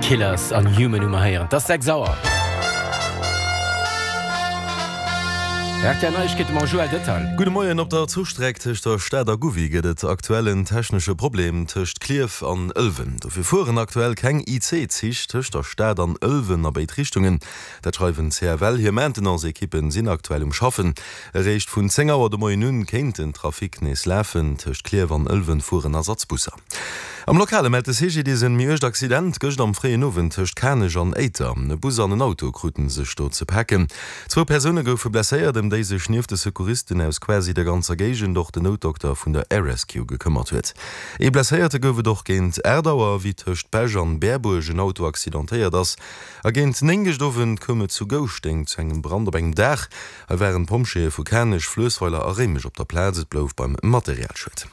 Killers an Human hu mer héieren. Et ass 6 Auer. Rtl Neiegkeete mam Joël Detail. Gudde Moien. Op der Zuchstreck tëscht der Stad a Gouvy gëtt et aktuell en technesche Problem tëscht Klierf an Ëlwen. Dofir fueren aktuell keng IC-Zich tëscht der Stad an Ëlwen a béid Richtungen. Dat schreiwen d'CFL. Hir Maintenance-Ekippen sinn aktuell um Schaffen. Eréischt vun 10 Auer de Moien un kéint den Trafic nees lafen. Tëscht Klierf an Ëlwen fueren Ersatzbusser. Am Lokale mellt de CGDIS en méi uergt Accident gëscht am fréien Owend tëscht Kanech an Éiter. E Bus an en Auto kruten sech do ze paken. Zwou Persoune goufe blesséiert, ëm déi sech nieft de Secouristen aus quasi der ganzer Géigend och den Noutdokter vun der Air Rescue gekëmmert huet. Ee Blesséierte gouf et och géint 8 Auer, wéi tëscht Bech an Berbuerg en Auto accidentéiert ass. A géint 9 gëscht Owend koum et zu Gouschteng zu engem Brand op engem Daach. Hei waren d'Pompjeeë vu Kanech, Fluessweiler a Réimech op der Plaz. Et blouf beim Materialschued.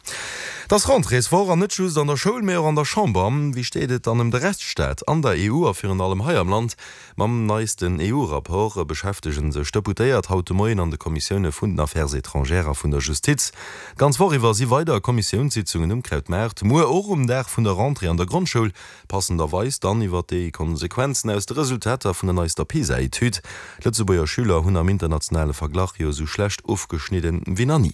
Et ass Rentréeswoch an net just an der Schoul, mee och an der Chamber. Wéi steet et dann ëm de Rechtsstaat an der EU a virun allem hei am Land? Mam neisten EU-Rapport beschäftege sech d'Deputéiert haut de Moien an de Kommissioune vun den Affaires étrangères a vun der Justiz. D'ganz Woch iwwer si weider Kommissiounssitzungen um Krautmaart. Muer och um Dag vun der Rentrée an der Grondschoul. Passenderweis dann iwwert déi Konsequenzen aus de Resultater vun der neister PISA-Etüd. D'Lëtzebuerger Schüler hunn am internationale Verglach jo esou schlecht ofgeschnidden wéi nach ni.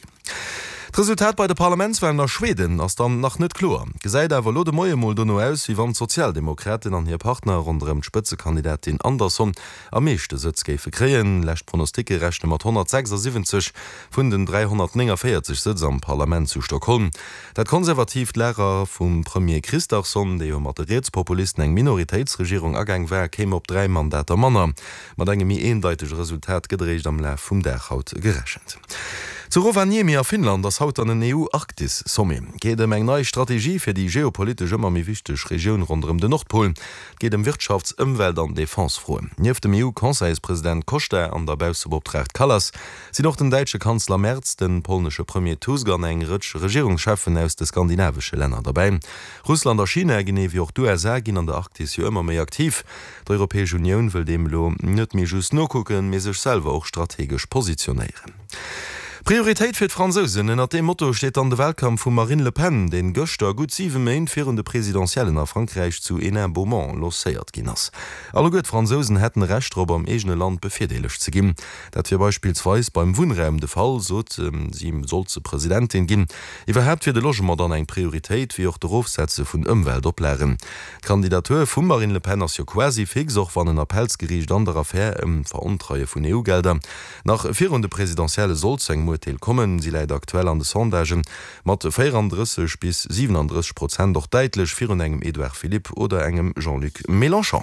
D'Resultat bei de Parlamentswalen a Schweden ass dann nach net kloer, gesäit awer elo de Moie mol dono aus, wéi wann d'Sozialdemokraten an hir Partner ronderëm d'Spëtzekandidatin Andersson am meeschte Sëtz géife kréien. Lescht Pronosticke rechne mat 176 vun den 349 Sëtz am Parlament zu Stockholm. Dat konservatiivt Lager vum Premier Kristersson, dee jo mat de Rietspopulisten eng Minoritéitsregierung agaang war, kéim op 3 Mandater manner. Mat engem méi eendeitege Resultat gëtt eréischt am Laf vum Dag haut gerechent. Zu Rovaniemi a Finnland ass haut dann en EU-Arktis-Sommet. Geet ëm eng nei Strategie fir déi geopolitesch ëmmer méi wichteg Regioun ronderëm den Nordpol. Et geet ëm Wirtschafts-, Ëmwelt an Defense-Froen. Nieft dem EU-Conseilspresident Costa an der Baussebeoptraagt Kallas sinn och den däitsche Kanzler Merz, de polnesche Premier Tusk an eng Rëtsch Regierungscheffen aus de skandinavesche Länner derbäi. Russland a China, genee wéi och d'USA, ginn an der Arktis jo ëmmer méi aktiv. D'Europäesch Unioun wëll deem elo net méi just nokucken, mee sech selwer och strategesch positionéieren. Prioritéit fir d'Fransousen, ënnert deem Motto steet dann de Wahlkampf vum Marine Le Pen, deen gëschter, gutt 7 Méint virun de Presidentiellen a Frankräich, zu Hénin-Beaumont lancéiert ginn ass. Alleguer d'Fransousen hätten e Recht drop, am eegene Land bevirdeelegt ze ginn. Dat wier beispillsweis beim Wunnraum de Fall, sot si, sollt se Presidentin ginn. Iwwerhaapt wier de Logement dann eng Prioritéit, wéi och d'Erofsetze vun Ëmweltoplagen. D'Kandidatur vum Marine Le Pen ass jo quasi fix, och wann en Appellsgeriicht an der Affär ëm d'Verontreie vun EU-Gelder nach virun de Presidentielle sollt zu engem Urteel kommen. Si läit aktuell an de Sondagen mat 34 bis 37 Prozent och däitlech virun engem Edouard Philippe oder engem Jean-Luc Mélenchon.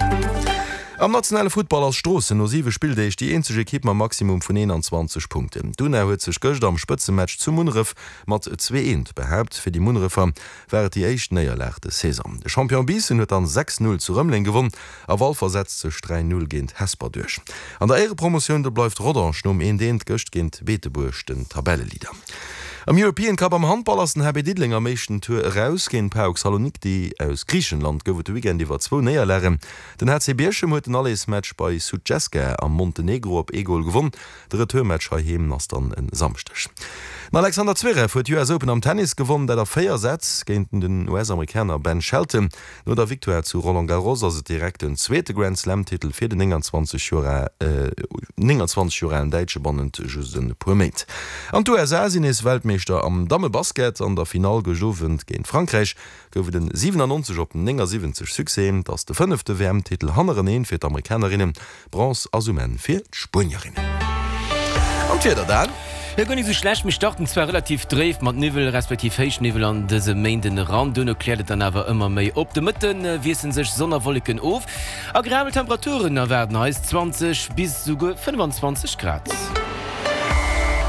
Am nationale Futtball ass Stroossen no 7 Spilldeeg déi eenzeg Ekipp mam Maximum vun 21 Punkten. D'Una huet sech gëscht am Spëtzematch zu Munneref mat 2, 1 behaapt. Fir déi Munnerefer war et déi éischt Néierlag des Saison. De Champion Biissen huet dann 6, 0 zu Rëmeleng gewonn a Walfer setzt sech 3, 0 géint Hesper duerch. An der Éierepromotioun do bleift Rodange nom 1, 1 gëscht géint Beetebuerg den Tabelleleader. Am European Cup am Handball ass den HB Diddeleng am éischten Tour eraus. Géint PAOK Saloniki aus Griichenland gouf et de Weekend iwwer zwou Néierlagen. Den HC Bierchem huet den Allersmatch bei Sutjeska am Montenegro op ee Gol gewonn. De Retourmatch heiheem ass dann e Samschdeg. Den Alexander Zverev huet d'US Open am Tennis gewonn, dat a 4 Sätz géint den US-Amerikaner Ben Shelton. No der Victoire zu Roland Garros ass et direkt den zweete Grand-Slam-Titel fir den 29 Joer 29 Joer alen Däitsche bannent just e puer Méint. An d'USA sinn nees Weltmeeschter am Dammebasket. An der Finall gëscht Owend géint Frankräich gouf et en 97 op 79 Succès. Et ass de fënnefte WM-Titel hannereneen fir d'Amerikanerinnen. Bronze ass um Enn fir d'Spuenierinnen. An d'Wieder dann? Jo, guer nik sou schlecht. Mir starten zwar relativ dréif mat Niwwel respektiv Héichniwwel an dëse Méinden eran, duerno kläert et dann awer ëmmer méi op. De Mëtte wiessele sech Sonn a Wolleken of. Agreabel Temperaturen erwaarden eis, 20 bis esouguer 25 Grad.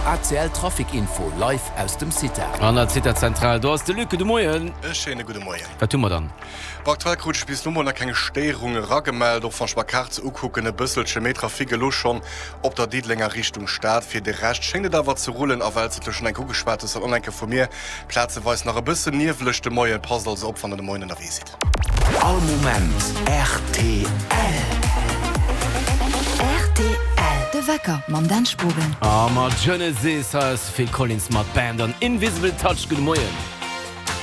ACL Trafic Info live aus dem CITA. An der CITA Zentral, do ass de Luc. Gudde Moien. E schéine gudde Moien. Wat hu mer dann? Bon, aktuell krut ech bis lo mol nach keng Stéierung eragemellt, och wann ech mer Kaart se ukucken, e bësselche méi Trafic elo schonn op der Diddelenger Richtung Stad. Fir de Rescht schéngt et awer ze rullen a well s de et lo schonn enk ugeschwat hues, dann och enke vu mir, plazeweis nach e bëssen nieweleg de Moien. Passt also op, wann der de Moien ënnerwee sidd. All Moment rtl. Rtl, De Wecker mam Dan Spogen. A mat Genesis, hei ass de Phil Collins mat Band an Invisible Touch. Gudde Moien.